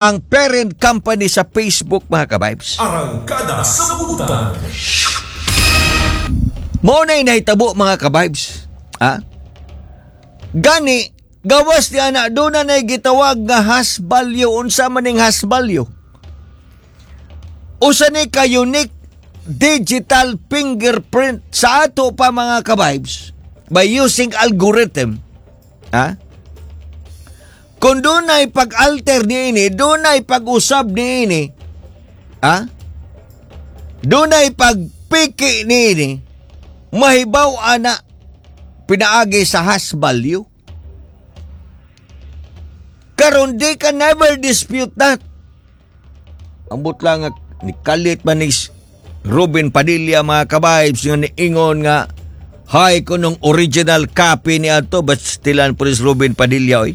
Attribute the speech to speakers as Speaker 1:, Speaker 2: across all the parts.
Speaker 1: Ang parent company sa Facebook, mga ka-vibes.
Speaker 2: Arangkada sa Butan.
Speaker 1: Mao na nahitabo, mga ka-vibes. Ha? Gani, gawas ni ana, doon na na'y gitawag nga hash value. Unsa man ning hash value? Usa ni ka unique digital fingerprint sa ato pa, mga ka-vibes, by using algorithm. Ha? Kung dunay pag-alter niini, dunay pag-usab niini, ha? Dunay pagpiki niini, mahibaw ana pinaagi sa hash value. Karon di ka never dispute that. Ambot lang nga ni kalit man ni Ruben Padilla, mga ka-vibes, nga niingon nga hay kunong original copy ni ato, but still po ni Ruben Padilla, oy.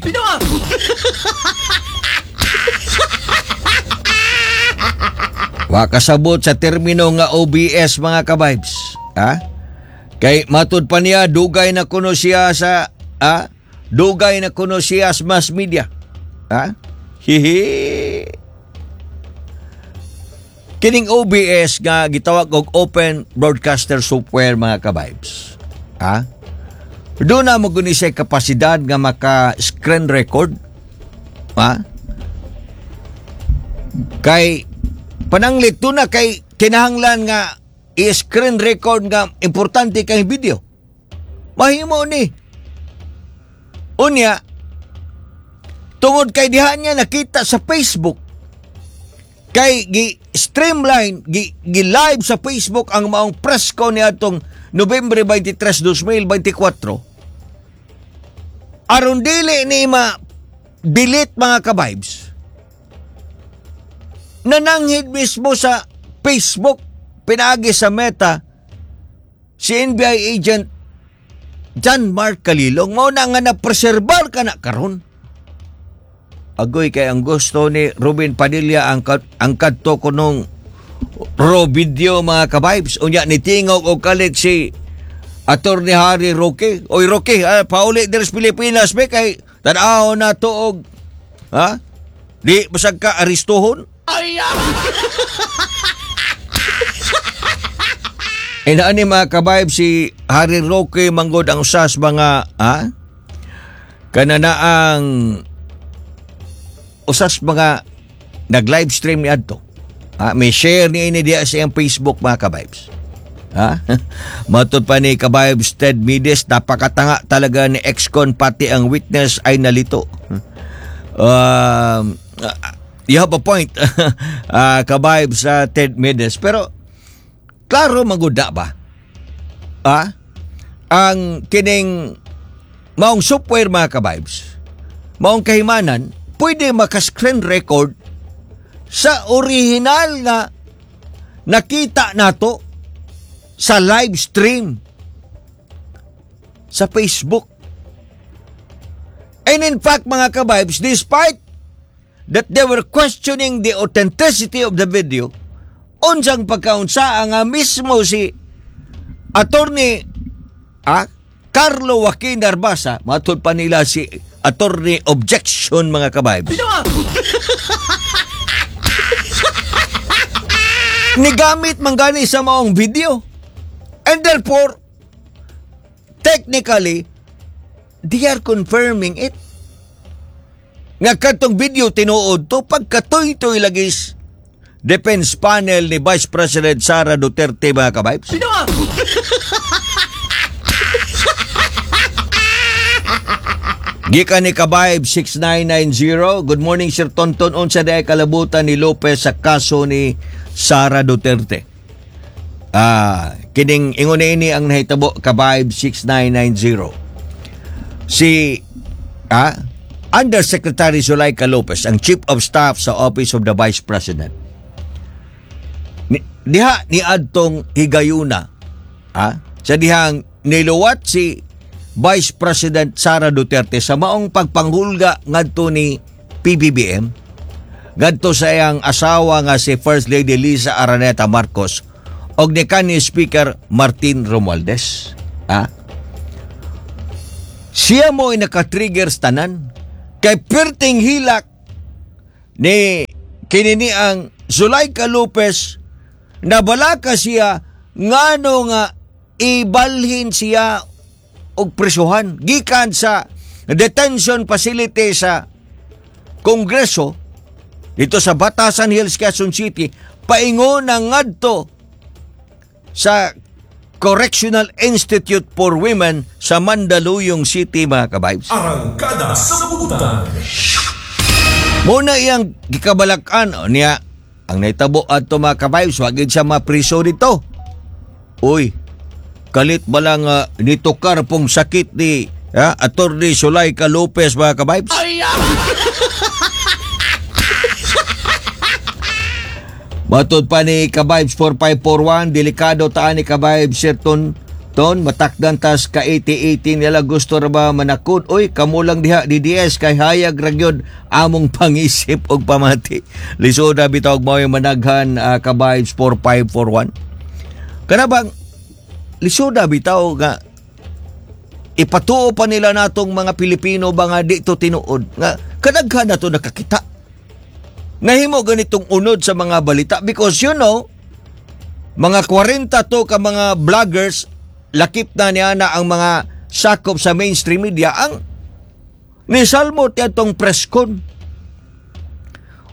Speaker 1: Wa kasabot sa termino nga OBS, mga ka-vibes. Ha? Kay matud pa niya dugay na kuno siya sa, ha? Dugay na kuno siya sa mass media. Ha? Hihi. Kining OBS nga gitawag og Open Broadcaster Software, mga ka-vibes. Ha? Doon na mo guni siya kapasidad nga maka screen record. Ha? Kay pananglit to na kay kinahanglan nga i-screen record nga importante kay video. Mahimo ni. Unya, tungod kay diha niya nakita sa Facebook, kay gi streamline gi, gi live sa Facebook ang maong press con ni atong Nobyembre 23, 2024, aron dili ni ma delete, mga ka-vibes, nananghid mismo sa Facebook pinaagi sa Meta si NBI agent John Mark Kalilong. Mao na nga na-preserbar ka na karon. Agoy, kay ang gusto ni Ruben Padilla ang kadto kunong raw video, mga ka-vibes. Unya ni tingog og kalit si Attorney Harry Roque. Oy Roque, pauli diri sa Pilipinas be, kay tan-aw na to og, ha? Di basag ka arestuhon. E ni mga ka-vibes, si Harry Roque manggod ang usas mga, ha? Kananaang usas mga nag-live stream ni adto. Ha, may share ni ini diya sa iyang Facebook, mga ka-vibes. Ha? Matod pa ni ka-vibes Ted Mides, napakatanga talaga ni ex-con, pati ang witness ay nalito. You have a point, ka-vibes Ted Mides. Pero, klaro maguda ba? Ha? Ang kining maong software, mga ka-vibes, maong kahimanan, pwede maka-screen record sa original nga nakita nato sa live stream sa Facebook. And in fact, mga ka-vibes, despite that they were questioning the authenticity of the video, unsang pagkaunsa nga mismo si Attorney Carlo Joaquin Narvasa, matud pa nila si Attorney Objection, mga ka-vibes. Nigamit man gani sa maong video. And therefore, technically, they are confirming it. Nga katong video tinuod to pagkatuy-tuy lagi defense panel ni Vice President Sara Duterte, mga ka-vibes. Gikan ni Kabayb 6990. Good morning, Sir Tonton. Unsa day kalabutan ni Lopez sa kaso ni Sara Duterte? Kining ingon ini ang nahitabo, Kabayb 6990. Si Undersecretary Zuleika Lopez, ang Chief of Staff sa Office of the Vice President. Diha ni adtong higayuna, sa dihang niluwat si Vice President Sara Duterte sa maong pagpanghulga ngadto ni PBBM, ngadto sa iyang asawa nga si First Lady Lisa Araneta Marcos og ni kanhi Speaker Martin Romualdez. Siya mo ay naka-trigger sa tanan kay perting hilak. Ni kini ni ang Zuleika Lopez, nabalaka siya ngano nga ibalhin siya og presuhan gikan sa detention facility sa Kongreso dito sa Batasan Hills, Quezon City, paingon na ngadto sa Correctional Institute for Women sa Mandaluyong City, mga ka-vibes.
Speaker 2: Arangkada sa Butan.
Speaker 1: Muna iyang gikabalakan o niya ang nahitabo adto, mga ka-vibes, wa gid siya mapriso dito. Uy, kalit ba lang nitukar pong sakit ni Attorney Zuleika Lopez, mga ka-vibes? Matod pa ni Ka-Vibes 4541, delikado taan ni Ka-Vibes Sir Ton, Ton, matakdan tas ka 80-80 nila, gusto ra ba manakod? Uy, kamulang diha DDS kay hayag ra gyud among pangisip og pamati. Lisod ra bitaw og mao'y managhan, Ka-Vibes 4541. Kana bang lisod bitaw nga ipatuo pa nila natong mga Pilipino ba nga di to tinuod nga kadaghan na to nakakita. Nahimo ganitong unod sa mga balita because mga 40 to ka mga vloggers, lakip na niya na ang mga sakop sa mainstream media ang nisalmot atong press con.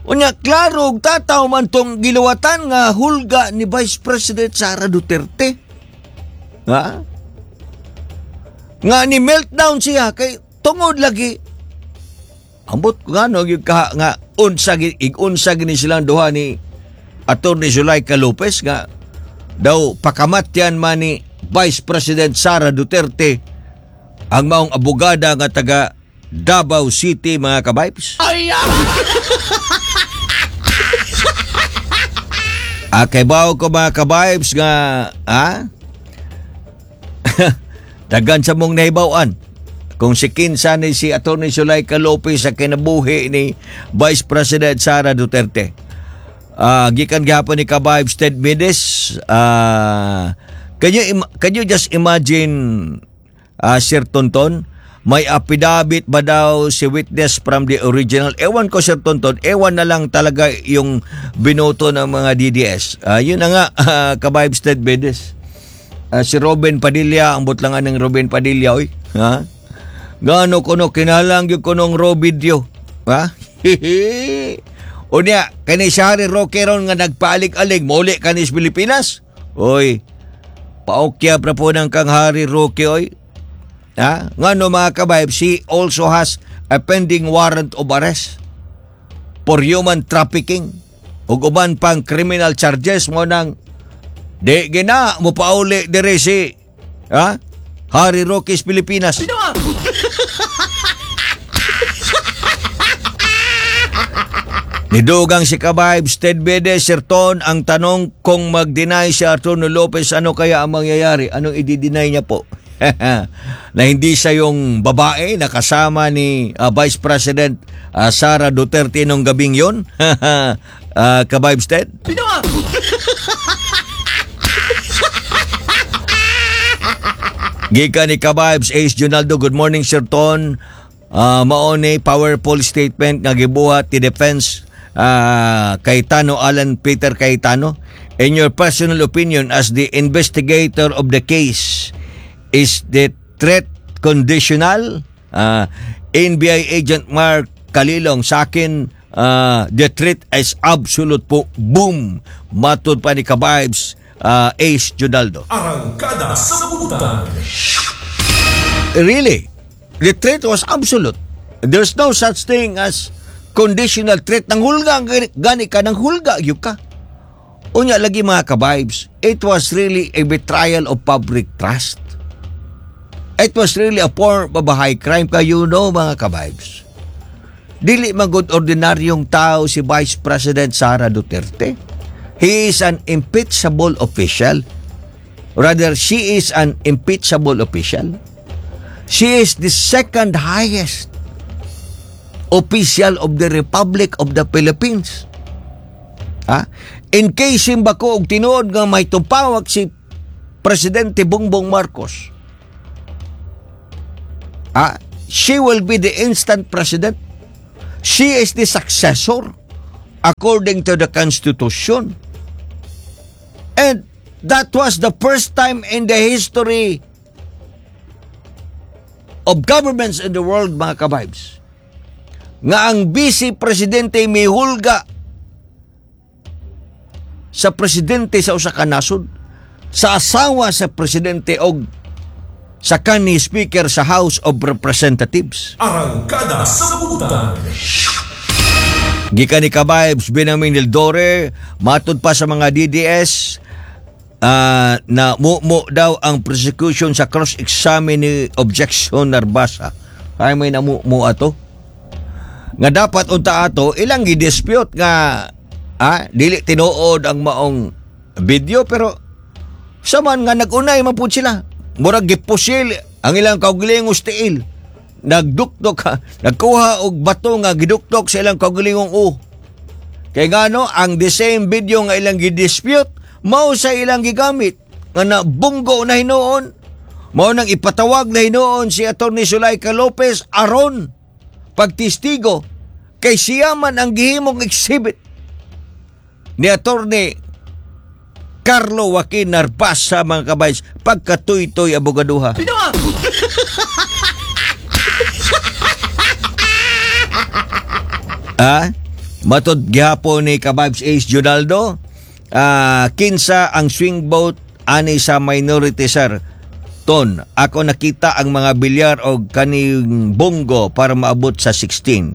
Speaker 1: Unya, klaro og tataw man tong giluwatan nga hulga ni Vice President Sara Duterte. Ha? Nga ni meltdown siya kay tungod lagi. Ambot ko nga no, yung ka, nga unsa ig-unsa gini silang duha ni Attorney Zuleika Lopez nga daw pakamatyan man ni Vice President Sara Duterte ang maong abogada nga taga Davao City, mga ka-vibes. Ah, kay bawo ko, mga ka-vibes, nga daghan sa mong nahibaw-an kung si kinsa ni si Attorney Zuleika Lopez sa kinabuhi ni Vice President Sara Duterte. Gikan gihapon ni Ka-Vibes Ted Medes, can you just imagine, Sir Tonton, may affidavit ba daw si witness from the original? Ewan ko, Sir Tonton, ewan na lang talaga yung binoto ng mga DDS. Yun na nga, Ka-Vibes Ted Medes. Si Robin Padilla, ang butlangan ng Robin Padilla, oy. Ha? Gaano kuno kinalang gyud kunong raw video. Ha? Unya, kani si Harry Roque ron nga nagpaalig-alig, mauli kanis Pilipinas. Oy, paokyab na po ng kang Harry Roque, oy. Ha? Ngano, mga ka-vibes, he also has a pending warrant of arrest for human trafficking ug uban pang criminal charges mo nang di gina mo pauli dire si ha Harry Roque sa Pilipinas. Nidugang si Ka-Vibes Ted Bede, Sir Ton, ang tanong kung mag-deny si Arturo Lopez, ano kaya ang mangyayari? Anong i-deny niya po? Na hindi siya yung babae na kasama ni Vice President Sara Duterte nung gabing yon? Ka-Vibes Ted? Gikan ni Ka-Vibes Ace Junaldo, good morning, Sir Ton. Mao ni powerful statement nga gibuhat ti defense Cayetano Alan Peter Cayetano. In your personal opinion as the investigator of the case, is the threat conditional? NBI Agent Mark Kalilong, sa akin, the threat is absolute po. Boom! Matod pa ni Ka-Vibes Ace Junaldo.
Speaker 2: Arangkada sa Butan.
Speaker 1: Really, the threat was absolute. There's no such thing as conditional threat. Nang hulga, gani ka, nang hulga, yun ka. Unya lagi, mga ka-vibes, it was really a betrayal of public trust. It was really a form of a high crime kayo, no, mga ka-vibes. Dili magod ordinaryong tao si Vice President Sara Duterte. He is an impeachable official. Rather, she is an impeachable official. She is the second highest official of the Republic of the Philippines. Ha? In case ba ko og tinuod nga may tupawak si Presidente Bongbong Marcos, she will be the instant president. She is the successor. According to the Constitution. And that was the first time in the history of governments in the world, mga kabibes, nga ang vice presidente mihulga sa presidente sa usa ka nasod, sa asawa sa presidente og sa kanhi speaker sa House of Representatives.
Speaker 2: Arangkada sa Butang.
Speaker 1: Gikan ni Kabibes Benjamin Dildore, matud pa sa mga DDS, na mumo daw ang prosecution sa cross-examine ni objection Narbasa. Ay, may namumo ato. Nga dapat unta ato ilang gi-dispute nga dili tinuod ang maong video, pero sa man nga nag-unay man pud sila. Murag gipusil ang ilang kaugalingong tiil. Nagdukdok ha, nagkuha og bato nga gidukdok sa ilang kaugalingong u. Kay ngano ang the same video nga ilang gidispute mao sa ilang gigamit nga nabunggo na hinuon, mao nang ipatawag na hinuon si Attorney Zuleika Lopez aron pagtestigo kay siya man ang gihimong exhibit ni Attorney Carlo Joaquin Narvasa, mga kabays, pagkatuytoy abogaduha. Ah, matod gihapon ni Kababs Ace Junaldo, kinsa ang swing vote ani sa minority, sir? Ton, ako nakita ang mga bilyar og kaning Bong Go para maabot sa 16.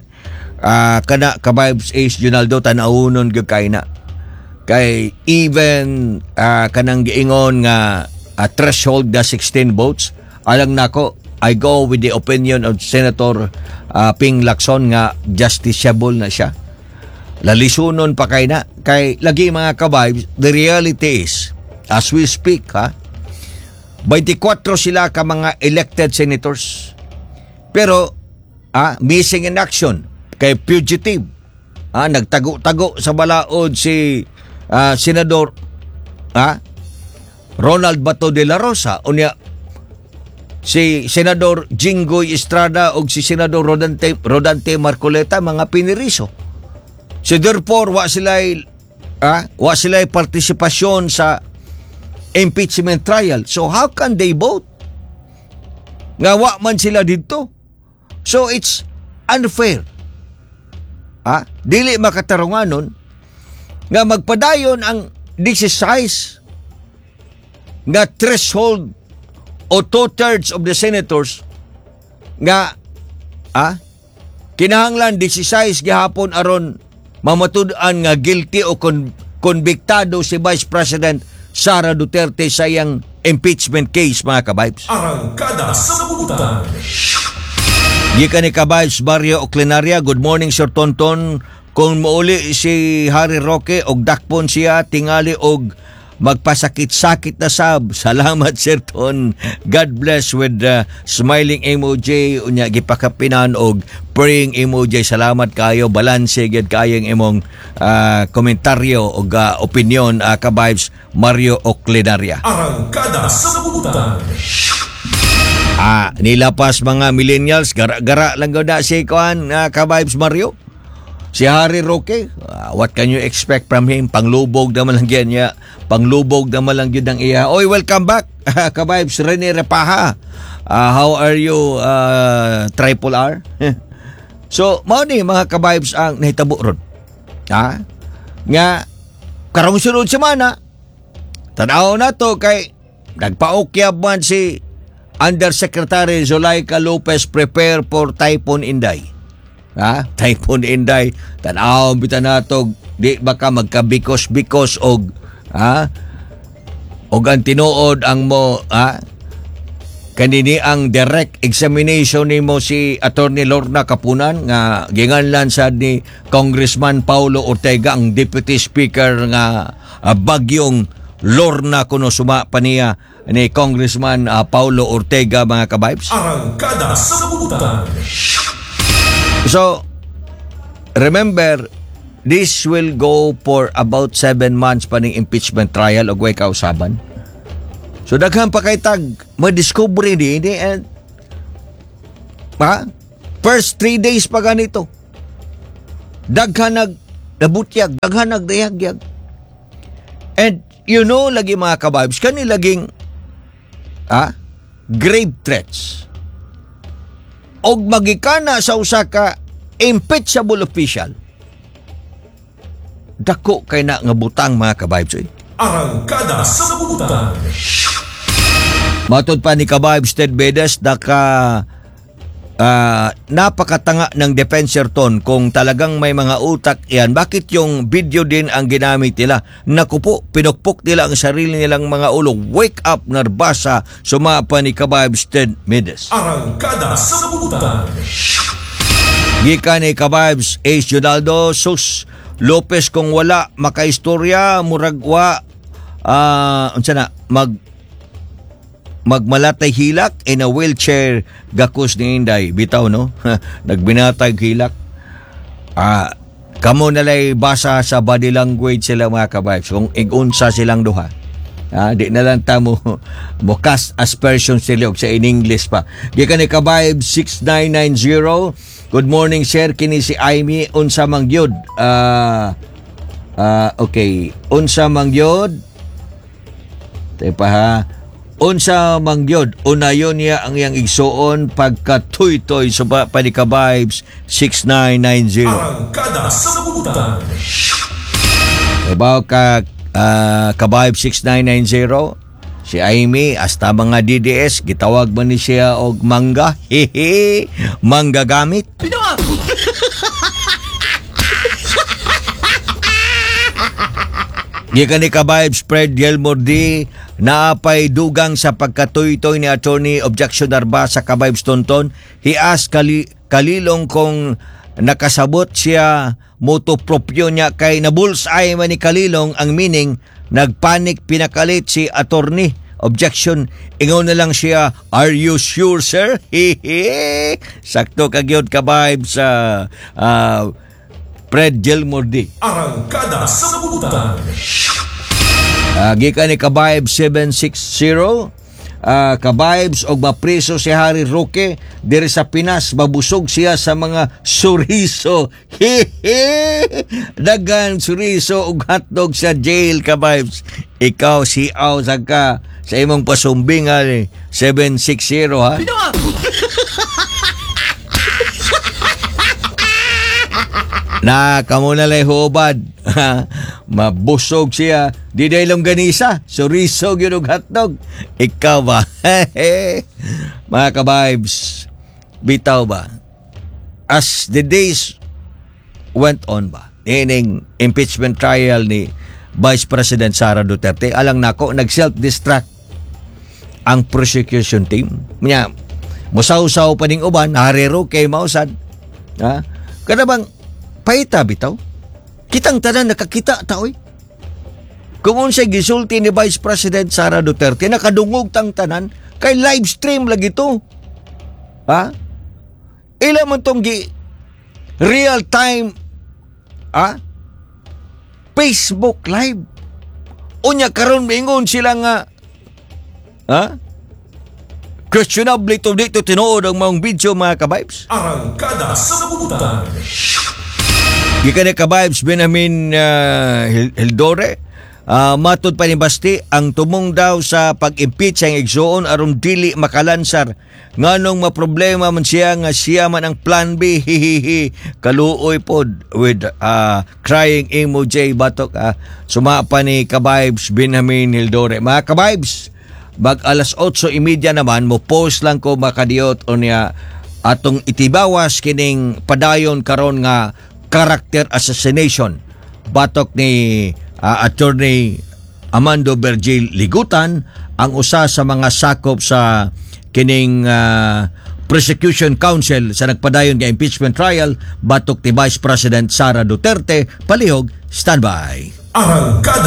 Speaker 1: Kana, Kababs Ace Junaldo, tan-awunon gyud kay na. Kay even kanang giingon nga threshold na 16 votes, alang nako, I go with the opinion of Senator Ping Lacson nga justiciable na siya. Lalisunon pa kay na. Kay lagi, mga kabibes, the reality is, as we speak, ha, 24 sila ka mga elected senators. Pero, missing in action, kay fugitive. Nagtago-tago sa balaod si Senador Ronald Bato de la Rosa. Unya, si Senador Jinggoy Estrada o si Senador Rodante Marcoleta, mga piniriso. So therefore, wa sila partisipasyon sa impeachment trial. So how can they vote? Nga wa man sila dito. So it's unfair. Dili makatarunganon nga magpadayon ang exercise nga threshold o two-thirds of the senators nga kinahanglan 16 gihapon aron mamatud-an nga guilty o konbiktado si Vice President Sara Duterte sa iyang impeachment case, mga kabibes.
Speaker 2: Arangkada sa Butang.
Speaker 1: Gikan ni Kabibes Barrio Oclinaria, good morning, Sir Tonton. Kung muuli si Harry Roque og dakpon siya, tingali og magpasakit-sakit na sab. Salamat, Sir Ton. God bless with smiling emoji, unya gipakapinan og praying emoji. Salamat kayo. Balanse gyud kayo ang imong komentaryo og opinion, Kabibes Mario Oclinaria.
Speaker 2: Arangkada sa Butang.
Speaker 1: Nilapas mga millennials, gara-gara lang gud na si kuan, Kabibes Mario. Si Harry Roque, what can you expect from him? Panglubog naman lang yan niya. Panglubog naman lang yun ang iya. Oy, welcome back, Kabibes Rene Repaha. How are you, Triple R? So, mao ni, mga kabibes, ang nahitabo ron. Ha? Nga, karong sunod semana, tanaw na to kay nagpaukyab man si Undersecretary Zuleika Lopez, prepare for Typhoon Inday. Ha? Typhoon Inday, tanaw bitaw nato, di baka magkabikos-bikos og og ang tinuod ang mo kanini ang direct examination nimo si Attorney Lorna Kapunan nga ginganlan sa ni Congressman Paulo Ortega, ang deputy speaker nga bagyong Lorna kuno suma pa niya ni Congressman Paulo Ortega, mga kabibes.
Speaker 2: Arangkada sa Butang.
Speaker 1: So, remember, this will go for about 7 months pa ning impeachment trial og way kausaban. So, daghan pa kay tag ma-discover ni and ha? First 3 days pa ganito. Daghan nag Nabutyag, daghan nagdayagyag. And lagi mga kabibes, kani laging grave threats. Og magikana sa usa ka impeachable official. Dako kay na nga butang, mga kabibes, oy.
Speaker 2: Arangkada sa Butan.
Speaker 1: Matod pa ni Kabibes Ted Bedes, naka napakatanga ng defense ton. Kung talagang may mga utak yan, bakit yung video din ang ginamit nila? Naku po, pinukpok nila ang sarili nilang mga ulo. Wake up, Narbasa, sumapa ni Kabibes Ted Medes.
Speaker 2: Arangkada sa Butan.
Speaker 1: Gikan ni Kabibes Ace Jonaldo, sus, Lopez kung wala makaistorya, murag wa unsa na magmalatay hilak in a wheelchair gakos ni Inday. Bitaw, no? Nagbinatay hilak. Kamo nalay basa sa body language sila, mga kabibes, kung igunsa silang duha. Di na lang ta mo cast aspersion sila og sa in English pa. Gikan ni Kabibes 6990. Good morning, sir, kini si Amy, unsa man gyud? Okay, unsa man gyud? Tepa ha. Unsa man gyud? Unayon niya ang iyang igsuon pagkatuytoy, sa pa ni Kabibes 6990.
Speaker 2: Arangkada sa Butan.
Speaker 1: Ibaw ka Kabayb 6990, si Amy, hasta mga DDS gitawag man ni siya og mangga. Hehe, mangga gamit. Gikan ni Kabayb Spread Gilmore D, naapay dugang sa pagkatuytoy ni Attorney Objection Arba sa Kabayb Tonton. He asked Kalilong kung nakasabot siya motu proprio niya kay na bullseye man ni Kalilong ang meaning, nagpanik, pinakalit si attorney. Objection, ingon na lang siya, "Are you sure, sir?" Hehe. Sakto kagyod, Kabayb sa Fred Gilmore D.
Speaker 2: Arangkada sa Butan.
Speaker 1: Gikan ni Kabayb 760, Kabibes, og mapriso si Harry Roque diri sa Pinas, mabusog siya sa mga suriso. Hehe, dagan suriso ug hotdog sa jail, Kabibes. Ikaw si aw sa ka sa imong pasumbingan eh, 760 ha. Na kamo na lay hubad. Mabusog siya. Di day longganisa. Suriso gyud og hotdog. Ikaw ba? Mga kabibes, bitaw ba? As the days went on ba, ining impeachment trial ni Vice President Sara Duterte, alang nako, nag-self-destruct ang prosecution team. Nya, musaw-saw pa ning uban, Harry Roque mausad. Ha? Kada bang paita bitaw? Kitang tanan nakakita ta oy. Kung unsay gisulti ni Vice President Sara Duterte, nakadungog tang tanan kay live stream lagi to. Ha? Ila man tong gi real time ha? Facebook live. Unya karon mingon sila nga ha? Questionable ito, dito tinuod ang mga video, mga kabibes.
Speaker 2: Arangkada sa Butan.
Speaker 1: Gikan ni Kabibes Benjamin Hildore, matod pa ni Basti, ang tumong daw sa pag-impeach ang igsuon aron dili makalansar. Nganong maproblema man siya nga siya man ang plan B, hihihi, kaluoy pod with crying emoji batok. Suma pa ni Kabibes Benjamin Hildore. Mga Kabibes, bag alas 8:30 naman, mo post lang ko makadiyot o niya atong itibawas kining padayon karon nga character assassination batok ni Attorney Amando Virgil Ligutan, ang usa sa mga sakop sa kining prosecution counsel sa nagpadayon nga impeachment trial batok ni Vice President Sara Duterte. Palihog, standby.
Speaker 2: Arangkada